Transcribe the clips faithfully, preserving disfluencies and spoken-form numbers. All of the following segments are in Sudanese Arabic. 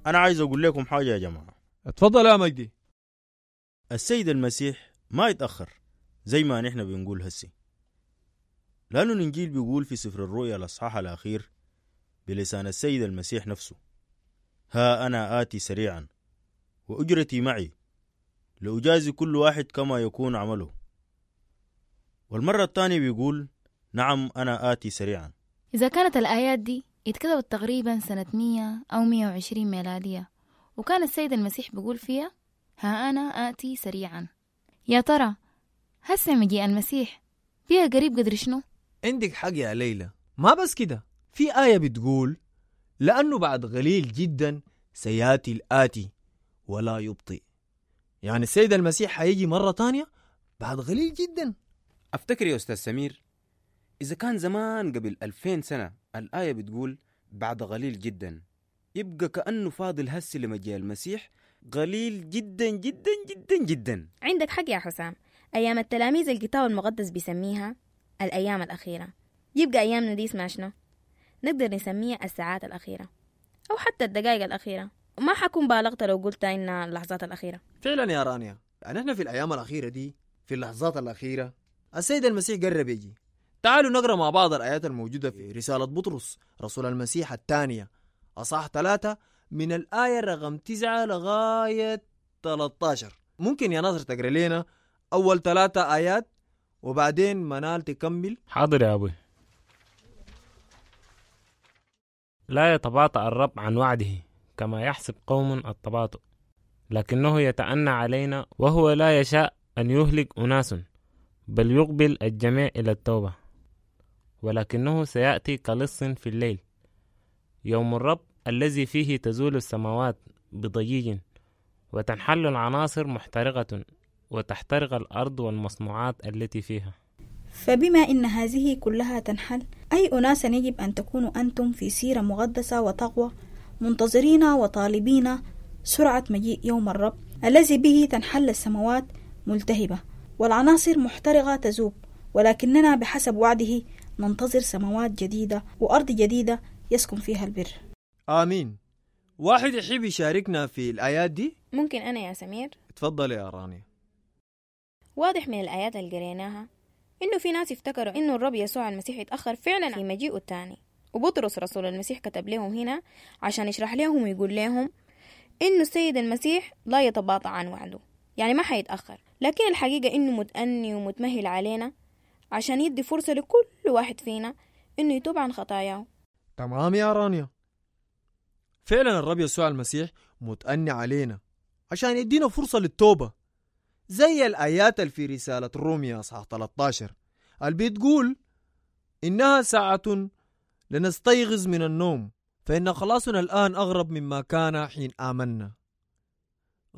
أنا عايز أقول لكم حاجة يا جماعة. اتفضل يا مجدي. السيد المسيح ما يتأخر زي ما نحن بنقول هسي، لأنه الإنجيل بيقول في سفر الرؤيا الأصحاح الأخير بلسان السيد المسيح نفسه: ها أنا آتي سريعا وأجرتي معي لأجازي كل واحد كما يكون عمله. والمرة الثانية بيقول: نعم أنا آتي سريعا. إذا كانت الآيات دي اتكتبت تقريبا سنة مية أو مية وعشرين ميلادية، وكان السيد المسيح بيقول فيها ها أنا آتي سريعا، يا ترى هسه مجيء المسيح فيها قريب قدر شنو؟ عندك حق يا ليلى. ما بس كده، في آية بتقول لأنه بعد قليل جدا سيأتي الآتي ولا يبطئ. يعني السيد المسيح حيجي مرة تانية بعد قليل جدا. أفتكر يا أستاذ سمير، إذا كان زمان قبل ألفين سنة الآية بتقول بعد قليل جدا، يبقى كأنه فاضل هسي لمجيء المسيح قليل جدا جدا جدا جدا. عندك حق يا حسام. أيام التلاميذ الكتاب المقدس بيسميها الأيام الأخيرة، يبقى أيامنا دي اسمها شنو؟ نقدر نسميها الساعات الأخيرة أو حتى الدقائق الأخيرة. ما حكون بالغت لو قلت إنها اللحظات الأخيرة. فعلا يا رانيا، يعني احنا في الأيام الأخيرة دي، في اللحظات الأخيرة، السيد المسيح قرب يجي. تعالوا نقرأ مع بعض الآيات الموجودة في رسالة بطرس رسول المسيح الثانية أصحاح ثلاثة من الآية رقم تسعة لغاية ثلاثة عشر. ممكن يا ناصر تقرأ لنا أول ثلاثة آيات وبعدين منال تكمل؟ حاضر يا أبوي. لا يتباطأ الرب عن وعده كما يحسب قوم التباطؤ، لكنه يتأنى علينا وهو لا يشاء أن يهلك أناس، بل يقبل الجميع إلى التوبة. ولكنه سيأتي كلص في الليل، يوم الرب الذي فيه تزول السماوات بضجيج وتنحل العناصر محترقة وتحترق الأرض والمصنوعات التي فيها. فبما إن هذه كلها تنحل، أي أناس يجب أن تكونوا أنتم في سيرة مقدسة وتقوى، منتظرين وطالبين سرعة مجيء يوم الرب الذي به تنحل السماوات ملتهبة والعناصر محترقة تذوب، ولكننا بحسب وعده ننتظر سماوات جديدة وأرض جديدة يسكن فيها البر. آمين. واحد يحب يشاركنا في الآيات دي؟ ممكن أنا يا سمير. تفضل يا رانيا. واضح من الآيات اللي قريناها إنه في ناس افتكروا إنه الرب يسوع المسيح يتأخر فعلا في مجيئه الثاني، وبطرس رسول المسيح كتب لهم هنا عشان يشرح لهم ويقول لهم إنه السيد المسيح لا يتباطأ عن وعده، يعني ما حيتأخر، لكن الحقيقة إنه متأني ومتمهل علينا عشان يدي فرصة لكل واحد فينا إنه يتوب عن خطاياه. تمام يا رانيا، فعلا الرب يسوع المسيح متأني علينا عشان يدينا فرصة للتوبة، زي الآيات اللي في رسالة روميا أصحاح ثلاثة عشر اللي بتقول إنها ساعة لنستيقظ من النوم، فإن خلاصنا الآن أغرب مما كان حين آمنا.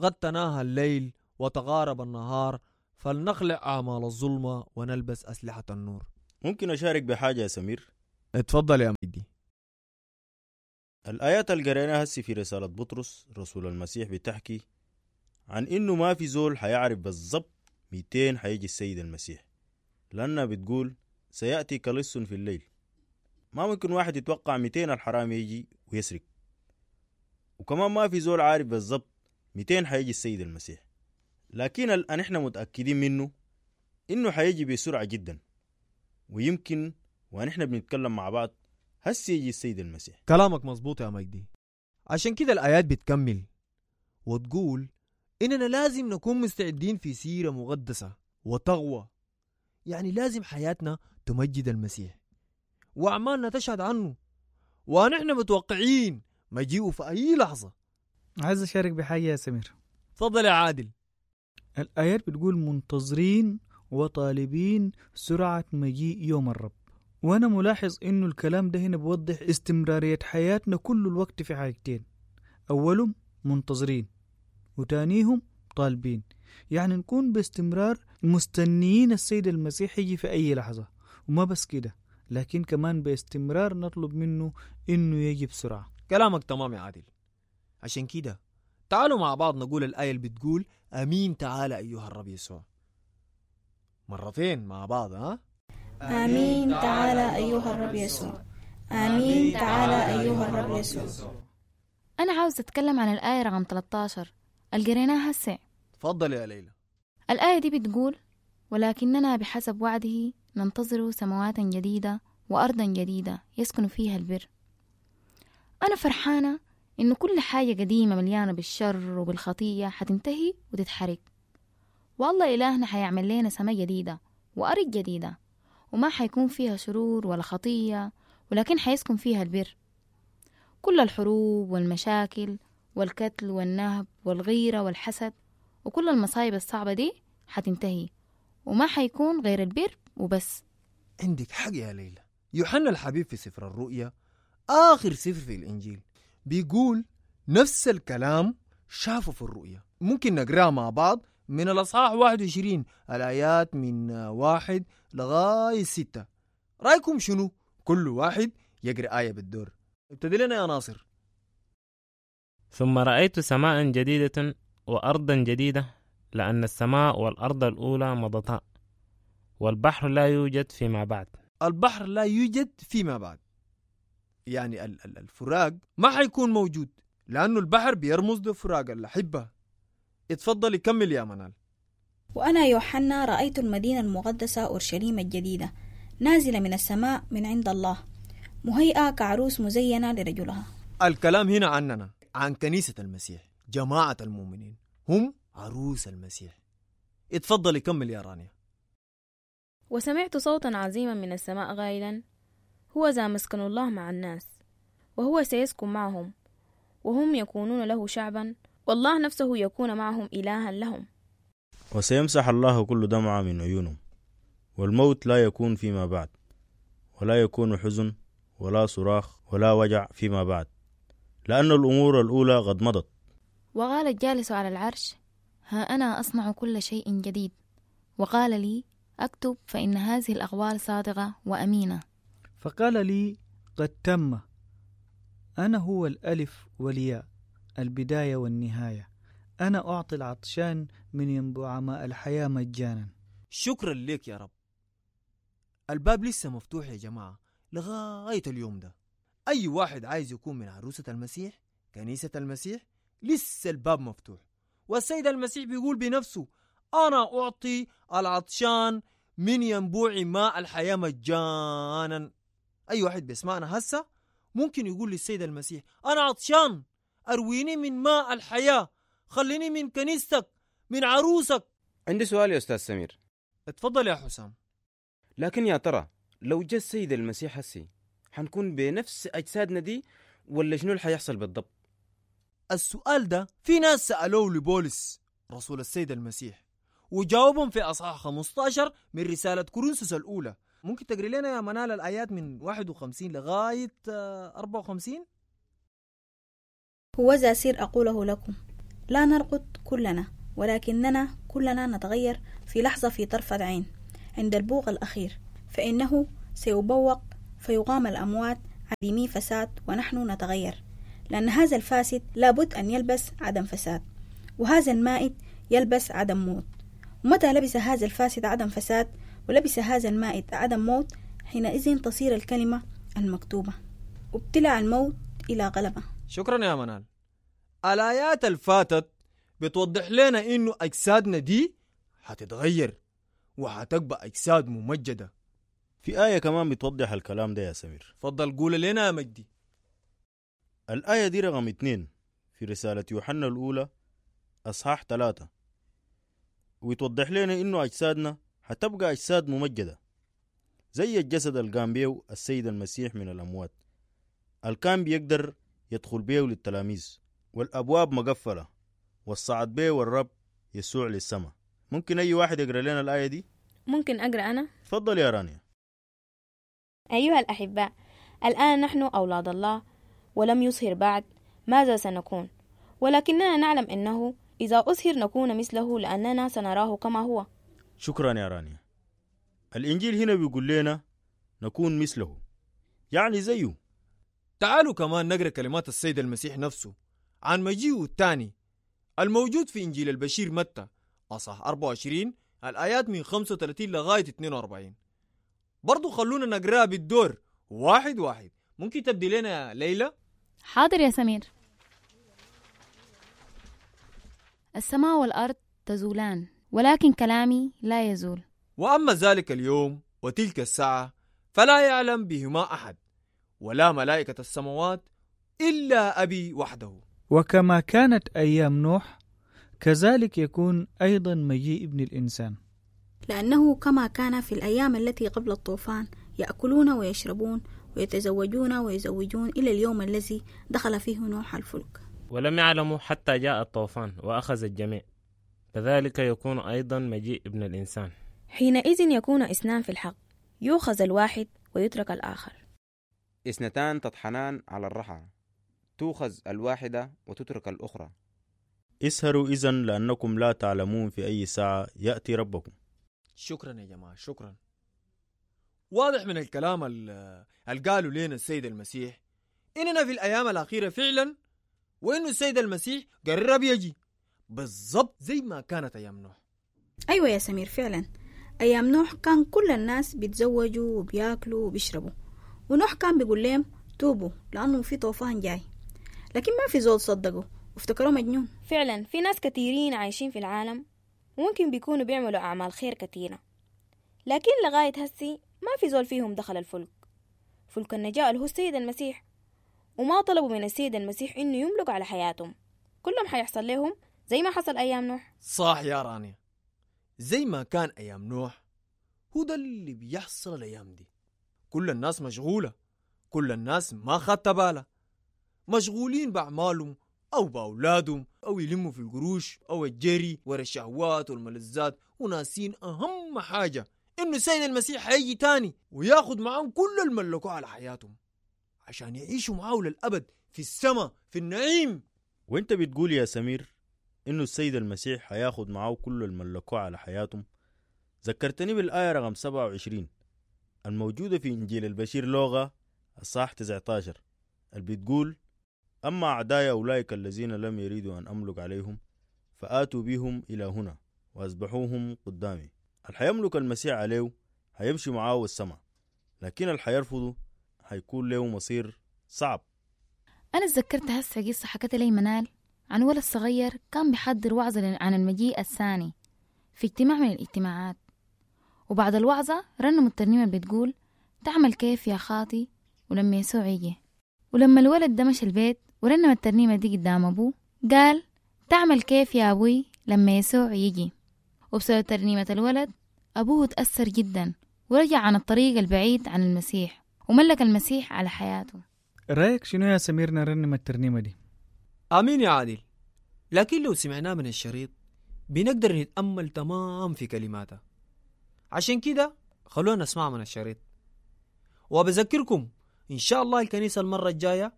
قد تناهى الليل وتغارب النهار، فلنخلع أعمال الظلمة ونلبس أسلحة النور. ممكن أشارك بحاجة يا سمير؟ اتفضل يا مجدي. الآيات اللي قريناها هسي في رسالة بطرس رسول المسيح بتحكي عن إنه ما في زول حيعرف بالضبط مئتين حيجي السيد المسيح، لأنها بتقول سيأتي كلص في الليل. ما ممكن واحد يتوقع مئتين الحرام يجي ويسرق، وكمان ما في زول عارف بالضبط مئتين حيجي السيد المسيح، لكن الآن احنا متأكدين منه إنه حيجي بسرعة جدا، ويمكن ونحن بنتكلم مع بعض هسي يجي السيد المسيح. كلامك مظبوط يا مجدي. عشان كده الآيات بتكمل وتقول إننا لازم نكون مستعدين في سيرة مقدسة وتقوى، يعني لازم حياتنا تمجد المسيح وأعمالنا تشهد عنه، ونحن متوقعين مجيئه في أي لحظة. عايز أشارك بحاجة يا سمير. تفضل يا عادل. الآيات بتقول منتظرين وطالبين سرعة مجيء يوم الرب، وأنا ملاحظ إنه الكلام ده هنا بوضح استمرارية حياتنا كل الوقت في حاجتين، أولهم منتظرين وتانيهم طالبين، يعني نكون باستمرار مستنيين السيد المسيح يجي في أي لحظة، وما بس كده لكن كمان باستمرار نطلب منه إنه يجي بسرعة. كلامك تمام يا عادل. عشان كده تعالوا مع بعض نقول الآية اللي بتقول أمين تعالى أيها الرب يسوع مرتين مع بعض. ها؟ آمين تعالى أيها الرب يسوع، آمين تعالى أيها الرب يسوع. أنا عاوز أتكلم عن الآية رقم ثلاثة عشر اللي قريناها هسه. تفضل يا ليلى. الآية دي بتقول: ولكننا بحسب وعده ننتظر سماوات جديدة وأرضا جديدة يسكن فيها البر. أنا فرحانة إنه كل حاجة قديمة مليانة بالشر وبالخطية حتنتهي وتتحرق، والله إلهنا حيعمل لنا سماء جديدة وأرض جديدة، وما حيكون فيها شرور ولا خطية، ولكن حيسكن فيها البر. كل الحروب والمشاكل والقتل والنهب والغيرة والحسد وكل المصايب الصعبة دي حتنتهي، وما حيكون غير البر وبس. عندك حق يا ليلى. يوحنا الحبيب في سفر الرؤيا آخر سفر في الإنجيل بيقول نفس الكلام شافه في الرؤيا. ممكن نقرأ مع بعض من الأصحاح واحد وعشرين الآيات من واحد لغاية ستة. رأيكم شنو؟ كل واحد يقرأ آية بالدور. ابتدي لنا يا ناصر. ثم رأيت سماء جديدة وأرضا جديدة، لأن السماء والأرض الأولى مضتا، والبحر لا يوجد فيما بعد. البحر لا يوجد فيما بعد، يعني الفراق ما حيكون موجود، لأنه البحر بيرمز لفراق الأحبة. اتفضل كمل يا منال. وأنا يوحنا رأيت المدينة المقدسة أورشليم الجديدة نازلة من السماء من عند الله، مهيئة كعروس مزينة لرجلها. الكلام هنا عننا، عن كنيسة المسيح، جماعة المؤمنين هم عروس المسيح. اتفضل كمل يا رانيا. وسمعت صوتا عظيما من السماء قائلا: هو ذا مسكن الله مع الناس، وهو سيسكن معهم، وهم يكونون له شعبا، والله نفسه يكون معهم إلها لهم. وسيمسح الله كل دمعة من عيونهم، والموت لا يكون فيما بعد، ولا يكون حزن ولا صراخ ولا وجع فيما بعد، لأن الأمور الأولى قد مضت. وقال الجالس على العرش: ها أنا أصنع كل شيء جديد. وقال لي: أكتب، فإن هذه الأقوال صادقة وأمينة. فقال لي: قد تم. أنا هو الألف والياء، البداية والنهاية. أنا أعطي العطشان من ينبوع ماء الحياة مجانا. شكرا لك يا رب. الباب لسه مفتوح يا جماعة لغاية اليوم ده. أي واحد عايز يكون من عروسة المسيح، كنيسة المسيح، لسه الباب مفتوح. والسيد المسيح بيقول بنفسه: أنا أعطي العطشان من ينبوع ماء الحياة مجانا. أي واحد بيسمعنا هسه ممكن يقول للسيد المسيح: أنا عطشان، أرويني من ماء الحياة، خليني من كنيستك، من عروسك. عندي سؤال يا أستاذ سمير. اتفضل يا حسام. لكن يا ترى لو جاء السيد المسيح هسي حنكون بنفس أجسادنا دي ولا شنو اللي حيحصل بالضبط؟ السؤال ده في ناس سألوه لبولس رسول السيد المسيح، وجاوبهم في أصحاح خمسة عشر من رسالة كورنثوس الأولى. ممكن تقري لنا يا منال الآيات من واحد وخمسين لغاية أربعة وخمسين؟ هو ذا سر أقوله لكم: لا نرقد كلنا، ولكننا كلنا نتغير في لحظة، في طرفة عين، عند البوق الأخير، فإنه سيبوق فيقام الأموات عديمي فساد، ونحن نتغير، لأن هذا الفاسد لابد أن يلبس عدم فساد، وهذا المائت يلبس عدم موت. ومتى لبس هذا الفاسد عدم فساد ولبس هذا المائت عدم موت، حينئذ تصير الكلمة المكتوبة: ابتلع الموت إلى غلبة. شكرا يا منال. الآيات الفاتت بتوضح لنا إنه أجسادنا دي هتتغير وهتبقى أجساد ممجدة. في آية كمان بتوضح الكلام ده يا سمير. فضل قول لنا يا مجدي. الآية دي رقم اتنين في رسالة يوحنا الأولى أصحاح ثلاثة، ويتوضح لنا إنه أجسادنا هتبقى أجساد ممجدة زي الجسد اللي قام بيه السيد المسيح من الأموات، اللي كان بيقدر يدخل بيه للتلاميذ والأبواب مقفلة، والصعد بيه والرب يسوع للسماء. ممكن أي واحد يقرأ لنا الآية دي؟ ممكن أقرأ أنا؟ تفضل يا رانيا. أيها الأحباء، الآن نحن أولاد الله، ولم يظهر بعد ماذا سنكون، ولكننا نعلم أنه إذا أظهر نكون مثله، لأننا سنراه كما هو. شكرا يا رانيا. الإنجيل هنا بيقول لنا نكون مثله، يعني زيه. تعالوا كمان نقرأ كلمات السيد المسيح نفسه عن مجيئه الثاني الموجود في إنجيل البشير متى أصح أربعة وعشرين الآيات من خمسة وثلاثين لغاية اثنين وأربعين. برضو خلونا نقرأ بالدور واحد واحد. ممكن تبدي لنا يا ليلى؟ حاضر يا سمير. السماء والأرض تزولان ولكن كلامي لا يزول. وأما ذلك اليوم وتلك الساعة فلا يعلم بهما أحد ولا ملائكة السماوات إلا أبي وحده. وكما كانت أيام نوح كذلك يكون أيضا مجيء ابن الإنسان. لأنه كما كان في الأيام التي قبل الطوفان يأكلون ويشربون ويتزوجون ويزوجون إلى اليوم الذي دخل فيه نوح الفلك. ولم يعلموا حتى جاء الطوفان وأخذ الجميع. كذلك يكون أيضا مجيء ابن الإنسان. حينئذ يكون اثنان في الحق، يؤخذ الواحد ويترك الآخر. اثنتان تطحنان على الرحى، تؤخذ الواحدة وتترك الأخرى. اسهروا إذن لأنكم لا تعلمون في أي ساعة يأتي ربكم. شكرا يا جماعة، شكرا. واضح من الكلام اللي قالوا لنا السيد المسيح إننا في الأيام الأخيرة فعلا، وإنه السيد المسيح قرب يجي بالضبط زي ما كانت أيام نوح. أيوة يا سمير، فعلا أيام نوح كان كل الناس بيتزوجوا وبياكلوا وبيشربوا، ونوح كان بيقول لهم توبوا لأنه في طوفان جاي، لكن ما في زول صدقوا وافتكروه مجنون. فعلا في ناس كثيرين عايشين في العالم وممكن بيكونوا بيعملوا أعمال خير كثيرة، لكن لغاية هسي ما في زول فيهم دخل الفلك، فلك النجاة اللي هو السيد المسيح، وما طلبوا من السيد المسيح إنه يملك على حياتهم. كلهم حيحصل لهم زي ما حصل أيام نوح. صح يا رانيا، زي ما كان أيام نوح هو ده اللي بيحصل الأيام دي. كل الناس مشغولة، كل الناس ما خدت بالها، مشغولين بأعمالهم أو بأولادهم أو يلموا في القروش أو الجري ورا الشهوات والملذات، وناسين أهم حاجة إنه السيد المسيح هيجي تاني وياخد معاهم كل الملكوه على حياتهم عشان يعيشوا معاه للأبد في السماء في النعيم. وانت بتقول يا سمير إنه السيد المسيح هياخد معاه كل الملكوه على حياتهم، ذكرتني بالآية رقم سبعة وعشرين الموجودة في إنجيل البشير لوغا الصح تسعة عشر اللي بتقول: أما أعداي أولئك الذين لم يريدوا أن أملك عليهم فآتوا بهم إلى هنا وأذبحوهم قدامي. اللي حيملك المسيح عليه هيمشي معاه السماء، لكن اللي حيرفضه هيكون له مصير صعب. أنا اتذكرت هسه قصة حكت لي منال عن ولد صغير كان بيحضر وعظة عن المجيء الثاني في اجتماع من الاجتماعات، وبعد الوعظة رنموا الترنيمة بتقول تعمل كيف يا خاطي ولما يسوع يجي. ولما الولد ده مشى البيت ورنم الترنيمة دي قدام أبوه قال تعمل كيف يا أبوي لما يسوع يجي. وبسبب ترنيمة الولد أبوه تأثر جدا ورجع عن الطريق البعيد عن المسيح وملك المسيح على حياته. رأيك شنو يا سمير نرنم الترنيمة دي؟ آمين يا عادل. لكن لو سمعناه من الشريط بنقدر نتأمل تمام في كلماتها، عشان كده خلونا نسمع من الشريط. وبذكركم إن شاء الله الكنيسة المرة الجاية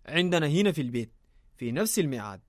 عندنا هنا في البيت في نفس الميعاد.